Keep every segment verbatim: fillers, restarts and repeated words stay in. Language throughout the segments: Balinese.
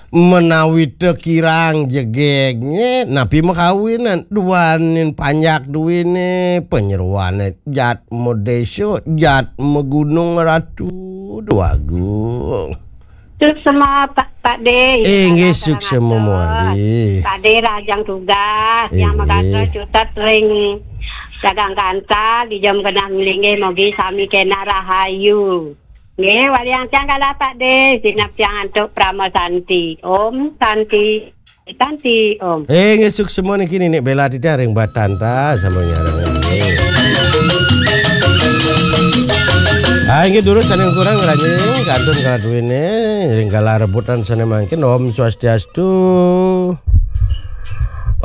Menawi teu kirang jegegné, napi makawinan, duaning panjak duwiné, panyeroané jat madésa, jat magunung, Ratu Déwagung. Suksema, Pak, Pak Dé. Inggih, suksema, Mawali. Pak Dé rahajeng tugas, yang magantos cutet ring Jagang Kantal, di jam genah linggih, mugi sami kénten rahayu. Nggih, waliang tiang galah, Pak Dé, sineb tiang antuk Parama Santi. Om Santi, Santi, Om. Eh, nggih, suksema niki Ninik Bella titiang ring Batanta, sampun nyarengin. Ah, inggih durus sané kurang ngranjing, kantun kala duwéné, ring kala rebutan sané mangkin. Om Swastiastu.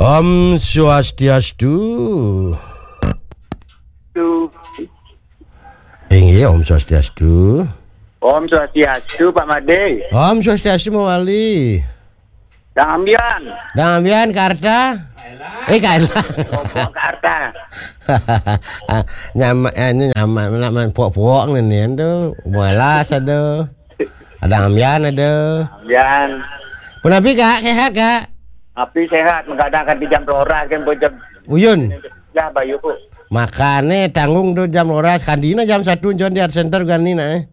Om Swastiastu. Tu. Inggih, Om Swastiastu. Om Swastiastu, Pak Madé. Om Swastiastu, Mawali. Dang Ambian. Dang Ambian, Karta? Eh, Karta. Pok Karta. Nyama, eh, ini nyama, nak main pok-pok nih, nih, tuh. Mualas ada. Ada Ambian ada. Ambian. Punapi, Kak, sehat, Kak? Api sehat, mengkadang kan di jam roras kan, bocah. Uyun. Ya, Bayu. Makane tanggung tuh jam roras, kandina jam satu John di Art Center ganina, eh.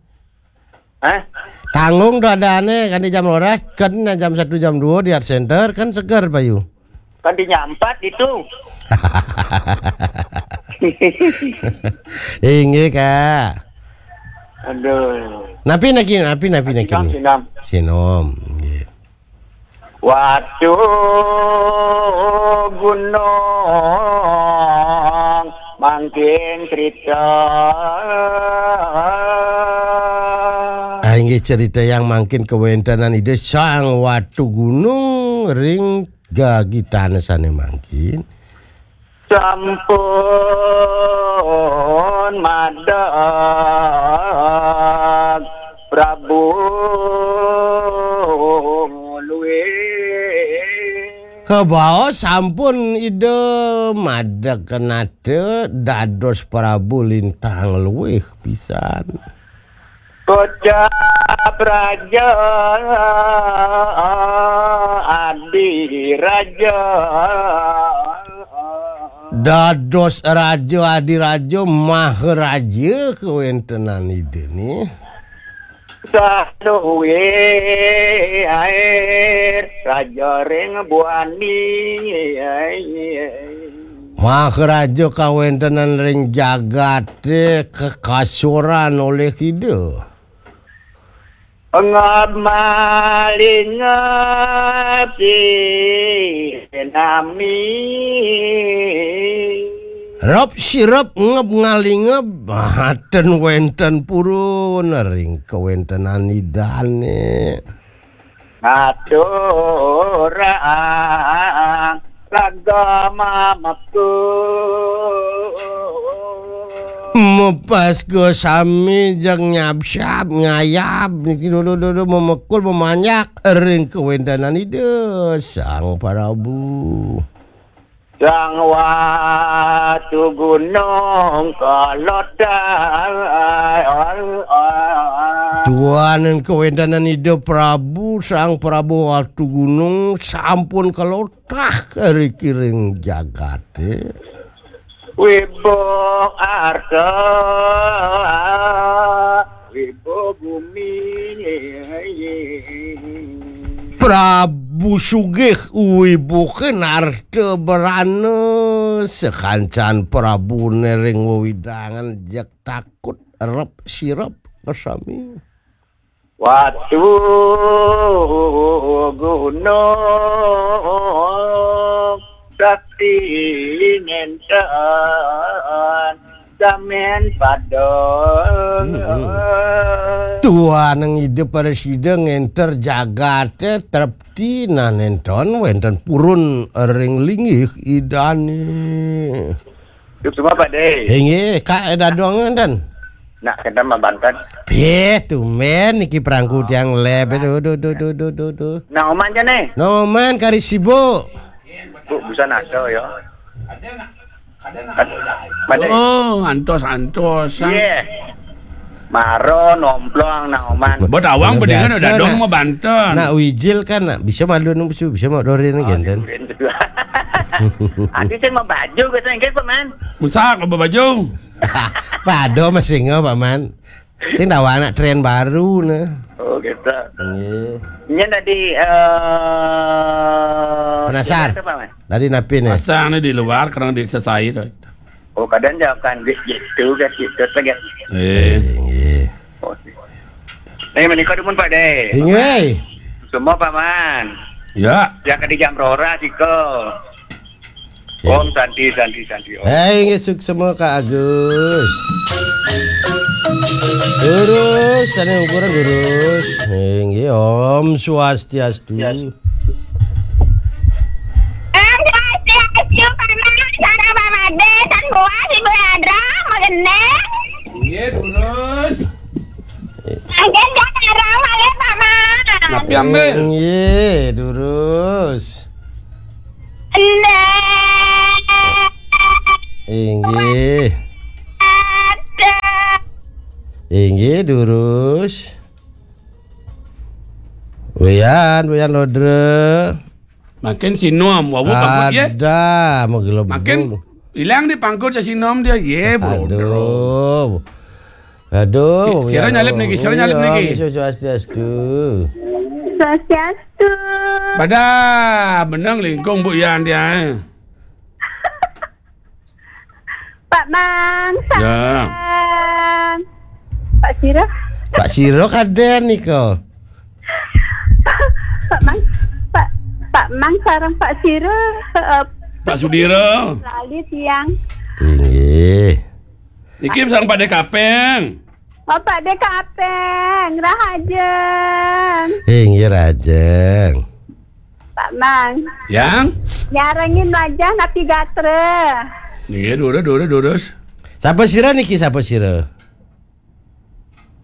Hah? Tanggung tuh adané kan di jam roras, kan jam satu jam dua di Art Center, kan seger, Bayu. Kan dinyampat itu. Inggih, Kak. Aduh. Napi niki, napi, napi niki. Sinom, sinom. Sinom, nggih. Watu Gunung mangkin cerita. Ah, inggih, cerita yang mangkin kawéntenan Ida Sang Watu Gunung ring gagitané sané mangkin. Sampun madeg Prabu luwih. Kabaos sampun Ida madeg kenata dados Prabu Lintang luwih pisan. Kocap raja adi raja. Dados raja adi raja, maharaja kawéntenan Ida nih. Saluwih air raja ring buani. Maharaja kawéntenan ring jagaté kekasuran olih Ida. Ngab malingeb sinami. Rep sirep ngeb ngalingeb, ah, ten wénten purun ring kawéntenan Idané. Ngaturang raga mamekul. Mepes ka sami jeng nyabsyab, ngayab, niki dudu, dudu, memekul, memanjak ring kawéntenan Ida Sang Prabu. Sang Watu Gunung Kelotan. Duaning kawéntenan Ida Prabu, Sang Prabu Watu Gunung sampun kelotah riki ring jagaté. Wibuh arta, wibuh bumi. Prabu sugih, wibuhing arta brana, sakancan prabuné ring wewidangan jeg takut, rep sirep ka sami. Watu Gunung Sakti nénten samin padeng. Mm-mm. Duaning Ida Prasida ngénter jagaté trepti, nah nénten wénten purun ring linggih Idané. Suksma, Pak Dé. Inggih, Kak, dadong énten. Nak kénten mabanten. Piye tumbén niki prangku tiang leb. Duh, duh, duh, duh, duh, duh, duh. Nah, Oman jane. Noman kari sibuk. Bu, busan ada ya. Made. Oh, antos-antos. Iya. Maro, nomplong, nang oman. Buat awang. Biasa bedingan udah dong nak, mau banten. Nak wijil kan, nak bisa malu nang bisu, bisa mau dorin kan, dan. Adi sing mau baju, kata nggih, Paman. Musak, mau baju. Pado masih nggak, Paman. Sing tahu anak tren baru, nah. Oh, gitu. Iya. Ini tadi, eh, Penasar. Gimana tuh, Paman? Tadi napi nih? Pasang nih di luar, kadang di sesai tuh. Oh, kadang jawabkan di situ, ke situ, ke. Eh. Eh, iya. Oh, sih. Nih, menikah dumun, Pak De. Inggih. Semua, Paman. Ya. Ya, ke di jam rora, siko. Ya. Om Santi, Santi, Santi, Om. Eh, inggih, suk semua, Kak Agus. Lurus, sana ukuran lurus. Inggih, Om Swastiastu. Ya. Om Swastiastu, Paman, sareng Paman De, tan buas, Ibu Yadra, mageneh. Inggih, lurus. Mangkin gak sareng malih, Paman. Napi ambil? Inggih, lurus. Nggih. Inggih. Ada. Inggih, lurus. Wian, Wian Lodre. Makin sinom, wawu pangkut, ya. Ada, mau gelembung. Makin hilang di pangkut ya sinom dia, ya, bro. Aduh. Aduh, si-, sira ya, nyalip niki, sira nyalip niki. Iya, Swastiastu. Swastiastu. Pada benang lingkung, Bu Yan, dia. Pak Mang, ya. Sareng Pak Siro. Pak Siro kaden nika. Pak Mang, Pak, Pak Mang sareng Pak Siro, eh, Pak Sudiro. Lali tiang. Inggih. Niki sareng Pak De Kapeng. Oh, Pak De Kapeng, rahajeng. Inggih, rahajeng. Pak Mang. Yang? Nyarengin wajah napi gatra. Nggih, durus, durus, durus. Sapa sira niki, sapa sira?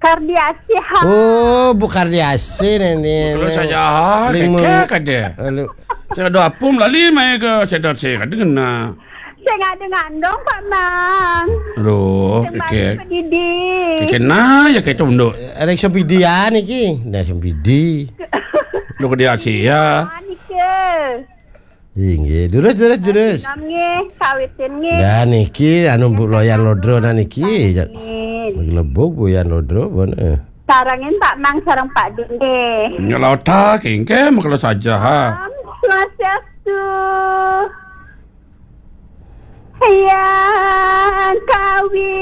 Kardiasi, ha. Oh, Bu Kardiasi, Neni. Kalau saya, ha, ling keke mu-, kade. Aduh. Saya ada apum lali mai ke sedot saya kade kena. Saya nggak ada ngandung, Pak Mang. Aduh, saya baru keke. Pedidi. Keke na ya keke unduk. Arek sempidi ya niki. Nah, sempidi. Lu ke dia sih ya. Manis ya. Inggih, durus, durus, durus. Nggih, kawitin nggih. Nah, niki anu Bu Loyan Lodro nah niki. Amin. Lebuk Bu Yan Lodro, bon, eh. Sarengin Pak Mang sareng Pak Ding nggih. Nyelota kengke makelo saja, ha. Om Swastiastu. Yang kawi.